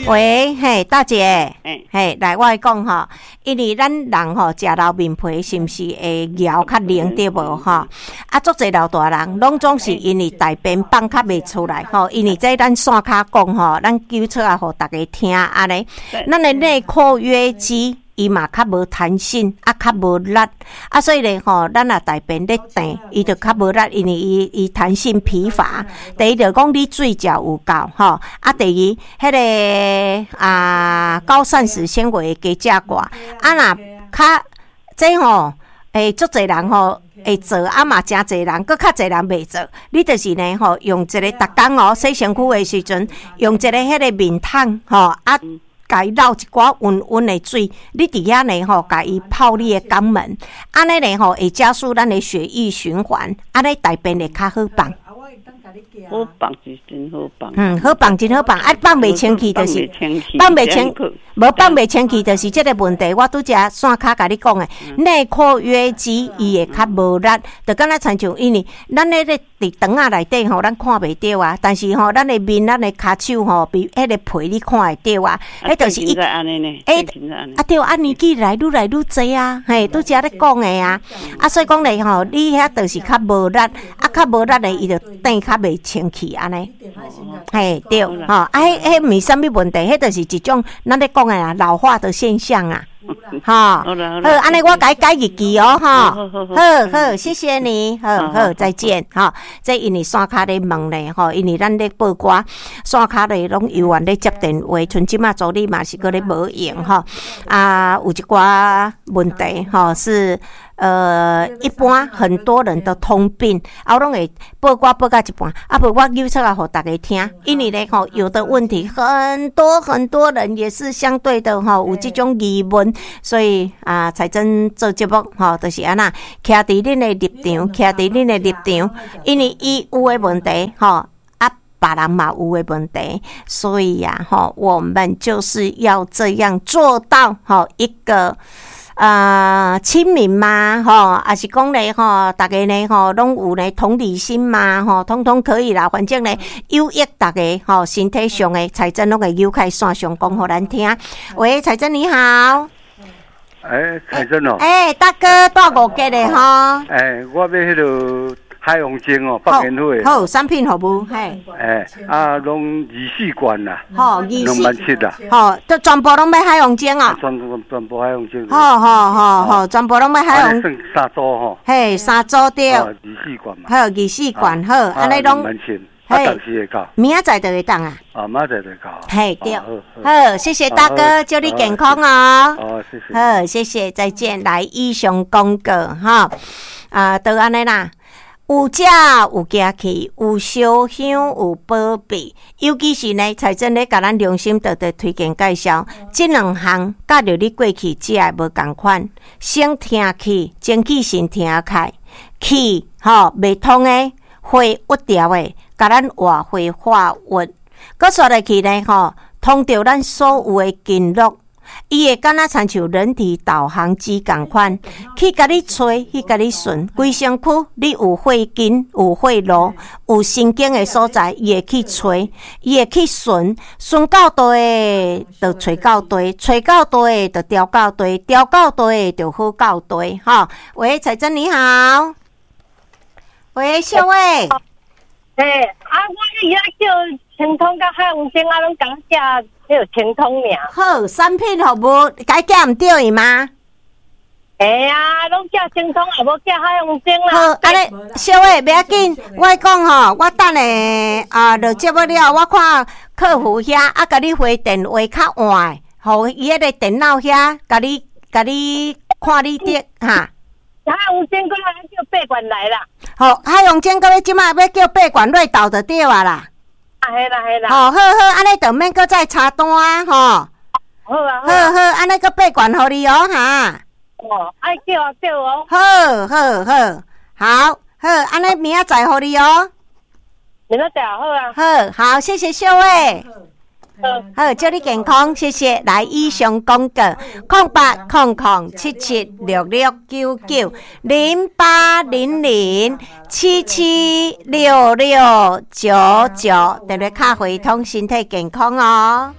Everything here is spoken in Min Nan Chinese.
喂，嘿，大姐，嘿，來，我來講吼，因為咱人吼食老面皮是毋是會枵較靈對無吼？啊，足濟老大人攏總是因為大便放較袂出來吼，因為這咱線跤講吼，咱糾出來予逐家聽按呢，咱的內括約肌伊嘛較無彈性，啊較無力，啊所以咧吼，咱若大便咧挈，伊就較無力，因為伊伊彈性疲乏。第一就講你水食有夠吼，啊第二，彼個啊高膳食纖維加食寡，啊若較這吼，欸足濟人吼會做，啊嘛誠濟人，閣較濟人袂做。你就是呢吼，用一個逐工哦洗身軀的時陣，用一個彼個面桶吼啊。共伊撈一寡溫溫的水，你佇遐呢吼，共伊泡你的肛門，按呢呢吼會加速咱的血液循環，按呢大便會較好放。好放是真好放。嗯，好放真好放，啊放袂清氣就是放袂清，無放袂清氣就是這個問題。我拄才線跤共你講的，內括約肌伊會較無力，就敢若親像因為咱彼個佇腸仔內底吼，咱看袂著啊，但是吼，咱的面、咱的跤手吼，比彼個皮你看會著啊。彼就是伊，欸，啊對，啊年紀來愈來愈濟啊，嘿，拄才咧講的啊，啊所以講咧吼，你遐就是較無力，啊較無力咧，伊就轉較袂清氣按呢，嘿對，吼，啊彼彼毋是啥物問題，彼就是一種咱咧講的啊老化的現象啊。吼，好，按呢我共改日期哦，吼，好好，謝謝你，好好，再見，吼。這因為線跤咧問咧，吼，因為咱咧報歌，線跤咧攏猶原咧接電話，像這馬助理嘛是閣咧無閒，吼，啊，有一寡問題，吼，是一般很多人的通病，啊，我攏會報歌報到一半，啊，無我揪出來予逐家聽，因為咧吼，有的問題很多很多人也是相對的吼，有這種疑問，所以啊，彩珍做節目吼，就是按呢，徛佇恁的立場，徛佇恁的立場，因為伊有的問題吼，啊，別人嘛有的問題，所以呀，吼，我們就是要這樣做到吼一個。親民嘛，吼，抑是講咧，吼，逐家呢，吼，攏有咧同理心嘛，吼，統統可以啦。反正咧，有益逐家，吼，身體上的彩珍攏會扭開線上講予咱聽。喂，彩珍你好。欸，彩珍哦。欸，大哥，帶五結的吼。欸，我欲彼个海王精哦，放煙火。好，產品服務，嘿。欸，啊，攏24罐啦。好，二四。 27,000啦。好，都全部攏欲海王精哦。全部海王精。好好好好，全部攏欲海王。算三組吼。嘿，三組對。24罐嘛。好，24罐好，按呢攏。 27,000。啊，當時會到。明仔載就會當啊。啊，明仔載就會到。嘿，對。好，謝謝大哥，祝你健康哦。好，謝謝。好，謝謝，再見。來，以上廣告哈，啊，就按呢啦。有食有行氣，有燒香有保庇，尤其是呢，彩珍咧共咱良心特特推薦介紹，這兩項佮著你過去食的無仝款，先聽氣，精氣神聽開，氣吼袂通的，血鬱掉的，共咱活血化鬱，閣煞落去呢吼，通著咱所有的經絡。伊會敢若親像人體導航機仝款，去共你揣，去共你順，規身軀你有血筋、有血路、有神經的所在，伊會去揣，伊會去順，順到佗的就揣到佗，揣到佗的就調到佗，調到佗的就好到佗，吼。喂，彩珍你好，喂，秀慧。欸，啊，我伊遐叫清通佮海王精，啊，攏共寄彼个清通爾。好，產品服務該寄毋對嗎？會啊，攏寄清通，也無寄海王精啦。好，按呢，小慧，袂要緊，我講吼，我等下啊，落節目了，我看客服遐啊，共你回電話較晚，予伊彼个電腦遐，共你看你的哈。海王精閣來叫八罐來啦。好，海王精閣欲這馬欲叫八罐落豆就對啊啦。啊，係啦係啦。好，好好，按呢就免閣再查單吼。好啊。好好，按呢閣八罐予你哦，哈。哦，愛叫啊叫哦。好好好，好好，按呢明仔載予你哦。明仔載好啊。好好，謝謝秀慧。好，祝你健康，謝謝。來，以上廣告：0800776699，0800776699，電話卡會通，身體健康哦。